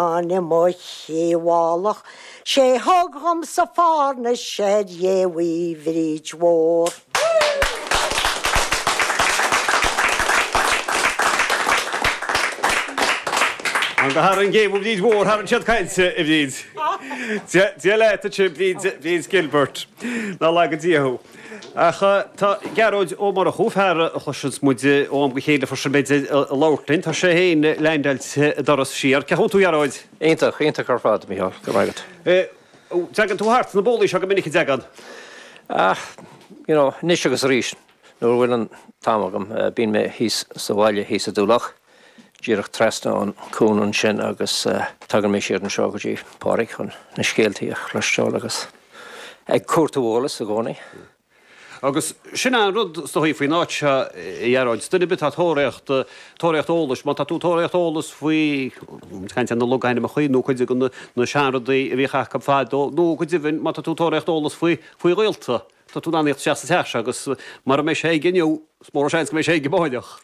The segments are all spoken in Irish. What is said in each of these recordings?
I mo chímhálach 'sé thug dhomsa fárna ar Ghéabh Uí Bhríd Mhór. An go tharraing Géabh Uí Bhríd Mhór tharraing siad cainte, a Bhríd. Dia leat a Bhríd, Bríd Gilbert. Ná laga Dia thú. Ach tá Gearóid Ó Murchú, fear a chloiseanns muid ó am go chéile freisin b'fhéidir ag labhairt linn, tá sé féin leaindeáilte an doras siar. Cén chaoi a bhfuil tú a Ghearóid? Iontach, iontach ar fad, a Mhícheáil, go raibh maith agat. Dtagann tú thart sna bólaí seo go minic, an dtagann? Ah, you know, anois agus arís, nuair a bhfuil an t-am agam, bíonn mé thíos sa bhaile thíos i dTulach, díreach trasna an cuan ansin agus tagann mé siar anseo go dtí Pádraig chun na scéaltaí a chloisteáil agus. Ag cuartú eolas i gcónaí. Agus sin é an rud is dóichí faoin áit seo, a Ghearóid, duine ar bith atá ag tóraíocht, tóraíocht eolais, má tá tú ag tóraíocht eolas faoi, ag caint ar na logainmneacha nó cuid de na seanrudaí a bhíodh acu fadó, nó go deimhin má tá tú ag tóraíocht eolas faoi, faoi ghaolta, tá tú in ann a thíocht isteach sa teach seo agus mara mbeidh sé aige inniu, is mór an seans go mbeidh sé aige amáireach.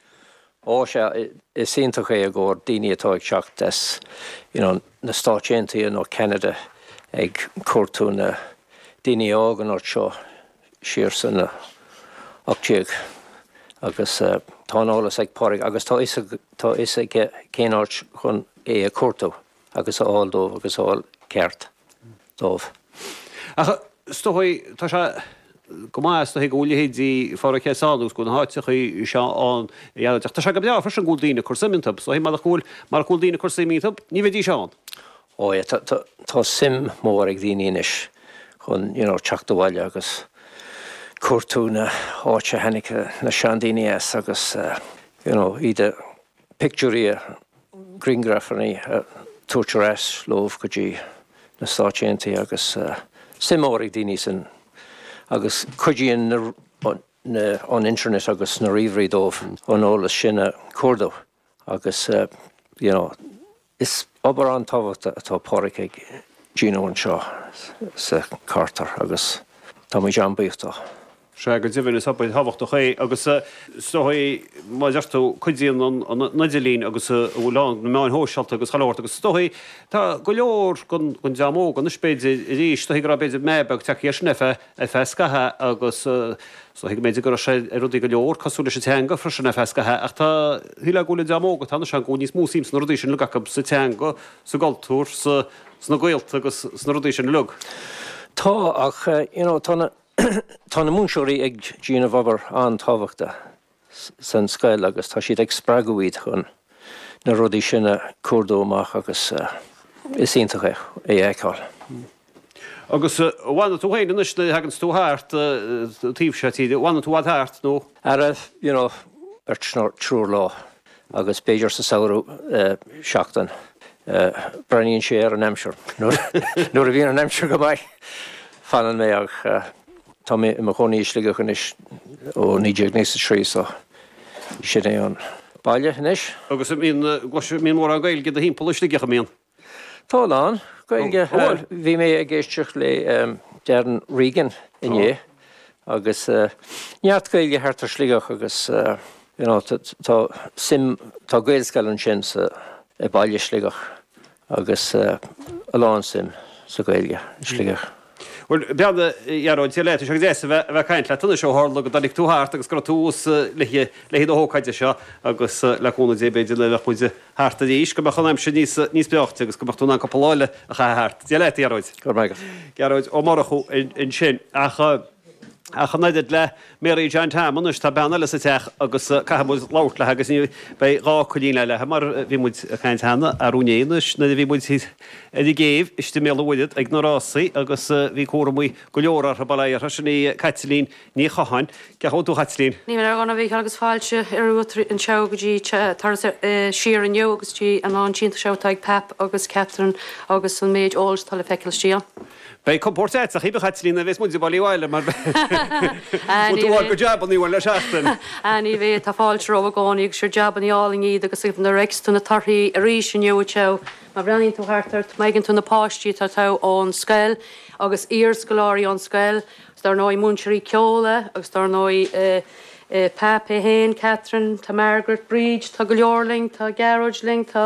Ó sea, is iontach é i gcomhair daoine atá ag teacht as you know na Stáit Aontaithe nó Ceanada ag cuartú na daoine a fhág an áit seo siar san 18 agus tá an eolas ag Pádraig agus tá fhios tá fhios aige cén áit chun é a cuartú agus a fháil dóibh agus a fháil ceart. dóibh. Ach is dóigh, tá sé go maith, is dóigh, go bhfuil leithéidí Phádraig Hess ann agus go bhfuil na háiteachaí seo ann a Ghearóid. Ach tá sé go breá freisin go bhfuil daoine ag cur suim iontu. Is dóigh, marach go bhfuil, marach go bhfuil daoine ag cur suim iontu, ní bheidís ann. Ó yeah, tá, tá, tá suim mór ag daoine anois chun, you know, teacht abhaile agus cuartú na háite a tháinig na seandaoine as agus, you know, iad a pictiúirí a grianghrafanna a tabhairt ar ais leo go dtí na Stáit Aontaithe agus suim mhór ag daoine san agus cuidíonn na an internet agus na ríomhairí dóibh an eolas sin a chuardú agus you know Is obair an-tábhachtach atá Pádraig ag déanamh anseo sa Carter agus táimid an-bhuíoch dó. Sea, go deimhin, is obair thábhachtach é agus is dóigh, mar a deir tú, cuidíonn an idirlíon agus a bhfuil ann, na meáin shóisialta agus chuile shórt agus is dóigh, tá go leor den dream óg anois b'fhéidir arís, is dóigh go raibh b'fhéidir meath beag tagtha air sin ar feadh ar feadh scaithimh agus is dóigh go mb'fhéidir go raibh sé ar rudaí go leor cosúil leis an teanga freisin ar feadh scaithimh ach tá shílfeá go bhfuil an dream óg atá anois ann go bhfuil níos mó suim sna rudaí sin uilig acu, sa teanga, sa gcultúr, sa, sna gaolta agus sna rudaí sin uilig. Tá ach you know tá na tá na múinteoirí ag déanamh obair an-tábhachtach san scoil agus tá siad ag spreagadh iad chun na rudaí sin a cuardú amach agus is iontach é a fheiceáil. Agus an bhfanann tú féin anois nuair a thaganns tú thart an taobh seo tíre, an bhfanann tú i bhfad thart nó? Ara, you know, beirt nó triúr lá agus b'fhéidir sa samhradh seachtain. Breathnaíonn sé ar an aimsir. Nuair a bhíonn an aimsir go maith fanann mé ach Tá mé i mo chónaí i Sligeach anois ó 1993 so sin é an baile anois. Agus an mbíonn, an mbíonn mórán Gaeilge i do thimpeall i Sligeach, an mbíonn? Tá a lán Gaeilge. Bhí mé ag éisteacht le Darren Regan inné agus neart Gaeilge thart ar Sligeach agus you know tá suim, tá Gaelscoil ansin sa, i baile Sligeach agus a lán suim sa Ghaeilge i Sligeach. Bhuel, bean a Ghearóid, Dia leat, tá sé go deas a bheith ag caint leat anois ó tharla go dtáinig tú thart agus go raibh tú thuas le haghaidh na hócáide seo agus le cúnamh Dé b'fhéidir nuair a bheadh muid thart arís go mbeadh an aimsir níos níos breáichte agus go mbeadh tú in ann cúpla lá eile a chaitheamh thart. Dia leat, a Ghearóid. Go raibh maith agat. Gearóid Ó Murchú ansin. Ach ach an oiread le Mary John Tom anois, tá bean eile sa teach agus caithfidh muid labhairt léi agus ní beidh dhá coillín eile léi mar bhí muid ag caint cheana arú inné anois nuair a bhí muid ar an gcéibh istigh i mBéal an Mhuirthead ag na rásaí agus bhí cúramaí go leor orthu, bail ó Dhia uirthi, sin í Caitlín Ní Chatháin. Cén chaoi a bhfuil tú a Chaitlín? Níl mé ar dhona a Mhícheáil agus fáilte romhat anseo go dtí turas siar inniu agus dtí an iontach seo atá ag Pap agus Catherine agus an méid eolais atá le feiceáil istigh ann. Beidh compóirt a'd, a Chaitlín, nuair a bheas muid ag bailiú abhaile mar bhfuil tú ag fáil jabannaí uainn le seachtain. Ah ní bheidh, tá fáilte romhaibh i gcónaí agus sure jabannaí álainn iad agus nuair a fheiceas tú na torthaí arís inniu anseo, má bhreathnaíonn tú thart ort, má fheiceann tú na páistí atá tagtha ón scoil agus iarscoláirí ón scoil agus dar ndóigh múinteoirí ceoil agus dar ndóigh Pap é féin, Catherine, tá Margaret, Bríd, tá go leor linn, tá Gearóid linn, tá.